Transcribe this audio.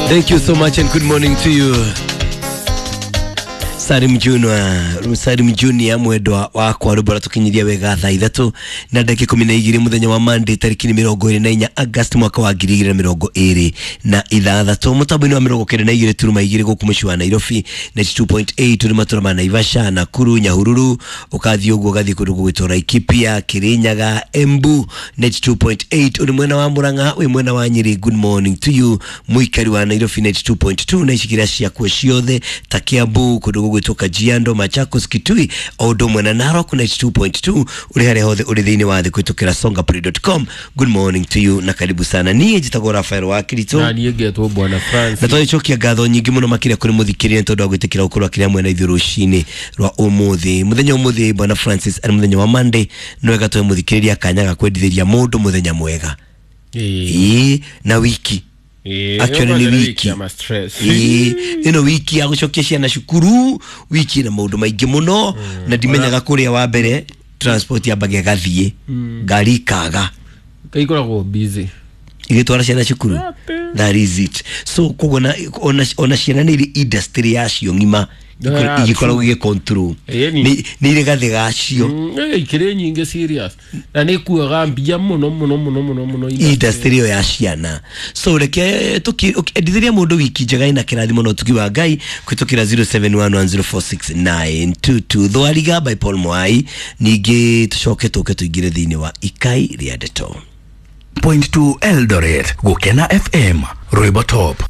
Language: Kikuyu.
Thank you so much and good morning to you. Salim Junior, Salim Junior mwendwa wakwa rwimbo ratukinyiria wega thaa ithatũ na ndagĩka 12 mũthenya wa Monday tarĩki nĩ 24 August mwaka wa 2026 mũtambo-inĩ wa 92.2 gũkũ mũciĩ wa Nairobi, 92.8 tũrĩ matũra ma Naivasha, Nakuru, Nyahururu, ũkathiĩ ũguo ũgathiĩ kũndũ gũgwĩtwo Laikipia, Kirinyaga, Embu 92.8 ũrĩ mwena wa Murang'a, wĩ mwena wa Nyeri. Good morning to you mũikari wa Nairobi 92.2 na icigĩrĩra ciakuo ciothe ta Kiambu, kũndũ gũgwĩtwo Kajiado, Machakos, Kitui o ũndũ ũmwe na Narok 92.2 ũrĩ harĩa hothe ũrĩ thĩinĩ wa thĩ kũhĩtũkĩra songaplay.com. Good morning to you na karibu sana. Niĩ njĩtagwo Rafael wa Kirito na niĩ ngetwo Bwana Francis. Na twagĩcokia ngatho nyingĩ mũno makĩria kũrĩ mũthikĩrĩria nĩ tondũ wa gwĩtĩkĩra gũkorwo akĩrĩ hamwe na ithuĩ rũcinĩ rwa ũmũthĩ. Mũthenya ũmũthĩ Bwana Francis arĩ mũthenya wa Monday, nĩ wega tũhe mũthikĩrĩria kanya ga kwendithĩria mũndũ mũthenya mwega. Ĩĩ, na wiki akione nĩ wiki. Ĩĩ, ĩno wiki ya gũcokia ciana cukuru, wiki ĩna maũndũ maingĩ mũno na ndimenyaga kũrĩa wa mbere transport yambaga ĩgathiĩ, ngari ikaga Kaikoragwo busy igĩtwara ciana cukuru. That is it. So koguo ona ciana nĩ irĩ industry yacio ng'ima igĩkoragwo igĩ control, nĩ irĩ gathĩ gacio. Ikĩrĩ nyingĩ serious na nĩ kuaga mbia mũno mũno mũno mũno mũno industry ĩyo ya ciana. So reke tũkĩendithĩria mũndũ wiki njega ĩna kĩrathimo na ũtugi wa Ngai kũhĩtũkĩra 0711046922 Thwariga by Paul Mwai, ningĩ tũcoke tũke tũingĩre thĩinĩ wa ikai rĩa ndeto. 0.2 Eldoret, Gukena FM, Rwimbo Top.